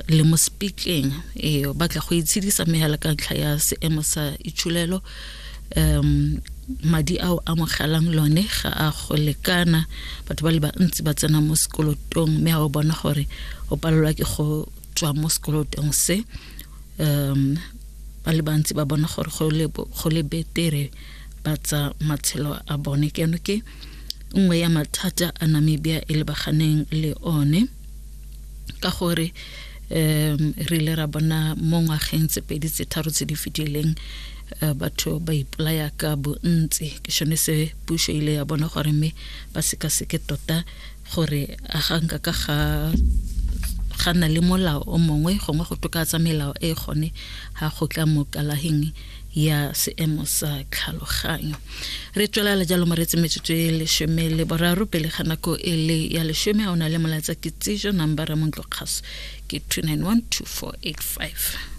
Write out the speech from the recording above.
Le mo speaking ee o batla go itshedisa mme hela ka ntlha ya seemo sa itsholelo um madi ao amogelang lone ga a go lekana. Batho ba le bantsi ba tsena mo sekolotong, mme ga o bona gore o palelwa ke go tswa mo sekolotong se, ba le bantsi ba bona gore go le betere ba tsa matshelo a bone. Ke eno ke nngwe ya mathata a Namibia e lebaganeng le one, ka gore re ile ra bona mo ngwageng tse pedi tse tharo tse di fetileng batho ba ipolaya ka bontsi. Ke sone se puso ile ya bona gore mme ba sekaseke tota gore a ga nka ka ga na le molao o mongwe gongwe go tokafatsa melao e gone ga go tla mo kalaheng ya seemo sa tlhaloganyo. Re tswelela jalo moreetsi, metsotso e 13 pele ga nako e le ya 10. A o na le molaetsa kitsiso, nambara mo ntlokgaso ke 291 2485.